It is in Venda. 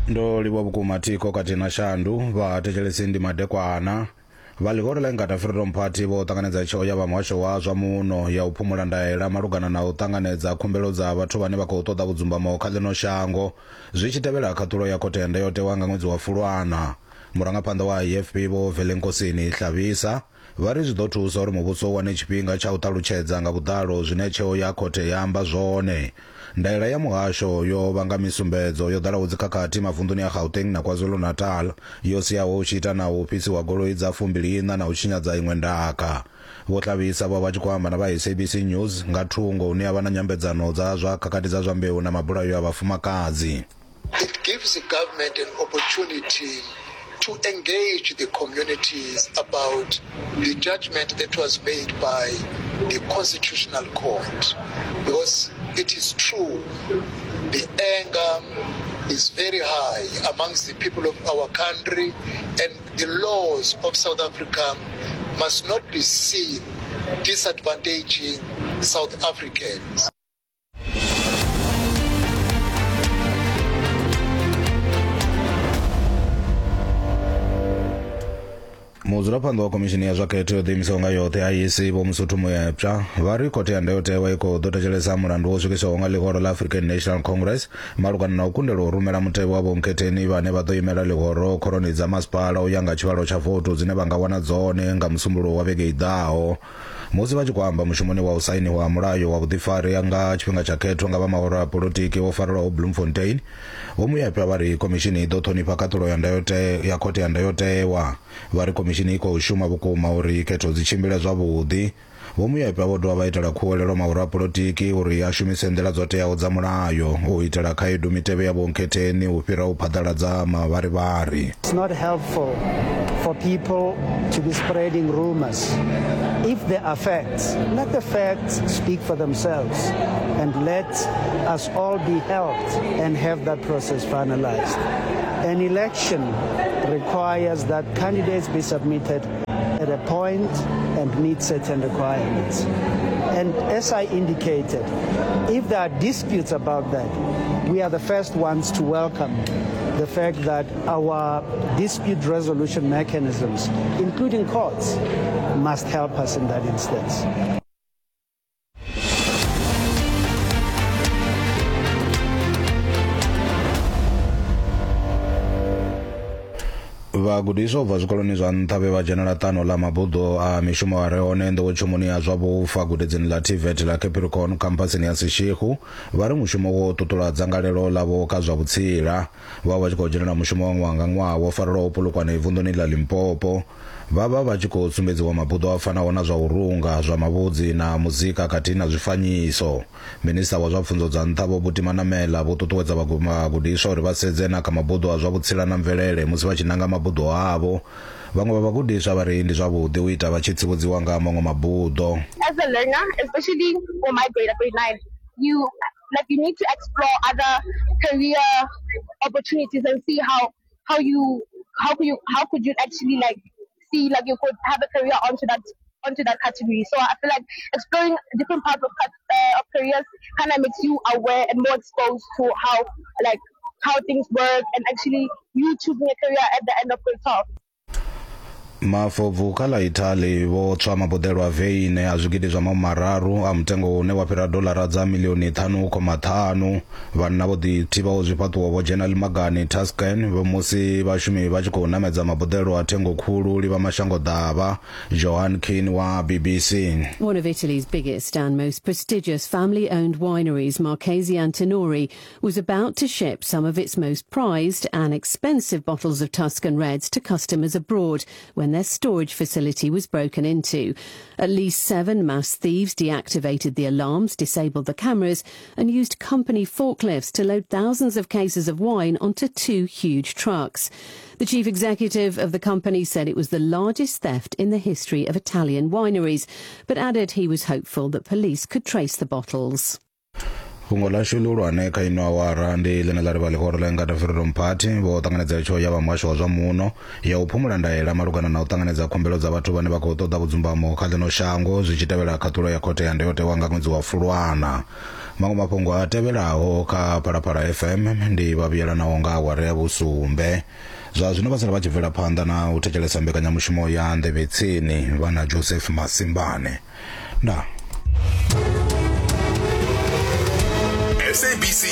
Ndo livhuwa vhukuma thikho khathihi na shandu vha thetshelesi ndi madekwana. Vha ḽihoro ḽa Inkatha Freedom Party vho ṱanganedza tsheo ya vha muhasho wa zwa muno ya u phumula ndaela malugana na u ṱanganedza khumbelo dza vhathu vhane vha khou ṱoḓa vhudzumbamo kha ḽino shango zwi tshi tevhela khaṱhulo ya khothe ya ndayotewa nga ṅwedzi wa Fulwana. Murangaphanḓa wa IFP Vho Velenkosini Hlabisa vha ri zwi ḓo thusa uri muvhuso u wane tshifhinga tsha u ṱalutshedza nga vhuḓalo zwine tsheo ya khothe ya amba zwone. Ndaela ya muhasho yo vhanga misumbedzo yo ḓalaho dzikhakhathi mavunḓuni a Gauteng na KwaZulu-Natal, yo siaho hu tshi ita na u fhisiwa goloi dza fumbili-iṋa na u tshinyadza iṅwe ndaka. Vho Hlabisa vho vha vha tshi khou amba na vha SABC News nga thungo hune ha vha na nyambedzano dza zwa khakhathi dza zwa mbeu na mabulayo a vhafumakadzi. It gives the government an opportunity to engage the communities about the judgment that was made by the Constitutional Court. Because it is true, the anger is very high amongst the people of our country, and the laws of South Africa must not be seen disadvantaging South Africans. Mudzulaphanḓa wa khomishini ya zwa khetho yo ḓiimisaho nga yoṱhe IEC Vho Mosotho Moepša vha ri khothe ya ndayotewa i khou ḓo thetshelesa mulandu wo swikiswaho nga ḽihoro ḽa African National Congress malugana na u kundelwa u rumela mutevhe wa vhonkhetheni vhane vha ḓo imela ḽihoro khoroni dza masipala u ya nga tshivhalo tsha votu dzine vha nga wana dzone nga Musumbuluwo wa vhege i ḓaho. Musi vha tshi khou amba mushumoni wa u sainiwa ha mulayo wa vhuḓifari nga tshifhinga tsha khetho nga vha mahoro a polotiki wo farelwaho Bloemfontein, Vho Moepya vha ri khomishini i ḓo ṱhonifha khaṱulo ya ndayote ya khothe ya ndayotewa. Vha ri khomishini i khou shuma vhukuma uri khetho dzi tshimbile zwavhuḓi. Vho Moepya vho dovha vha itela khuwelelo mahoro a polotiki uri a shumise nḓila dzo teaho dza mulayo u itela khaedu mitevhe ya vhonkhetheni u fhira u phaḓaladza mavharivhari. It's not helpful for people to be spreading rumors. If there are facts, let the facts speak for themselves and let us all be helped and have that process finalized. An election requires that candidates be submitted at a point and meet certain requirements. And as I indicated, if there are disputes about that, we are the first ones to welcome the fact that our dispute resolution mechanisms, including courts, must help us in that instance. Vhagudiswa u bva zwikoloni zwa nṱha vhe vha dzhenela ṱano ḽa mabuḓo a mishumo a re hone nḓowetshumoni ya zwa vhufa gudedzini ḽa TVET ḽa Capricorn khamphasini ya Seshego vha ri mushumo wo ṱuṱula dzangalelo ḽavho kha zwa vhutsila. Vha vha tshi khou dzhenela mushumo wa ṅwaha nga ṅwaha wo farelwaho Polokwane vunḓuni ḽa Limpopo. Vha vha vha tshi khou sumbedziwa mabuḓo a fanaho na zwa u runga, zwa mavhudzi na muzika khathihi na zwifanyiso. Minisiṱa wa zwa pfunzo dza nṱha Vho Buti Manamela vho ṱuṱuwedza vhagudiswa uri vha sedze na kha mabuḓo a zwa vhutsila na mvelele musi vha tshi nanga mabuḓo avho. Vhaṅwe vha vhagudiswa vha ri ndi zwavhuḓi u ita vha tshi tsivhudziwa nga ha maṅwe mabuḓo. As a learner, especially for my grade, grade 9, you like you need to explore other career opportunities and see how how you how could you how could you actually like see like you could have a career onto that onto that category. So I feel like exploring different parts of of careers kind of makes you aware and more exposed to how like how things work and actually you choosing a career at the end of grade 12. Mafobvu kha ḽa Italy vho tswa maboḓelo a veine a zwigidi zwa mahumi mararu a mutengo une wa fhira doḽara dza milioni 5.5. Vhanna vho ḓithivhaho zwifhaṱuwo vho dzhena limagani Tuscan musi vhashumi vha tshi khou namedza maboḓelo a thengo khulu livha mashango ḓavha. Johan Keane wa BBC. One of Italy's biggest and most prestigious family-owned wineries, Marchesi Antinori, was about to ship some of its most prized and expensive bottles of Tuscan Reds to customers abroad when their storage facility was broken into. At least 7 mass thieves deactivated the alarms, disabled the cameras, and used company forklifts to load thousands of cases of wine onto 2 huge trucks. The chief executive of the company said it was the largest theft in the history of Italian wineries, but added he was hopeful that police could trace the bottles. Fhungo ḽashu ḽihulwane kha ino awara ndi ḽine ḽa ri vha ḽihoro ḽa Inkatha Freedom Party vho ṱanganedza tsheo ya vha muhasho wa zwa muno ya u phumula ndaela malugana na u ṱanganedza khumbelo dza vhathu vhane vha khou ṱoḓa vhudzumbamo kha ḽino shango zwi tshi tevhela khaṱulo ya khothe ya ndayotewa nga ṅwedzi wa Fulwana. Maṅwe mafhungo a tevhelaho kha Phalaphala FM ndi vha vhuyelanaho nga awara ya vhusumbe. Zwa zwino vha sala vha tshi bvela phanḓa na u thetshelesa mbekanyamushumo ya Nḓevhe Tsini vha na Joseph Masimbane. Ndaa. SABC.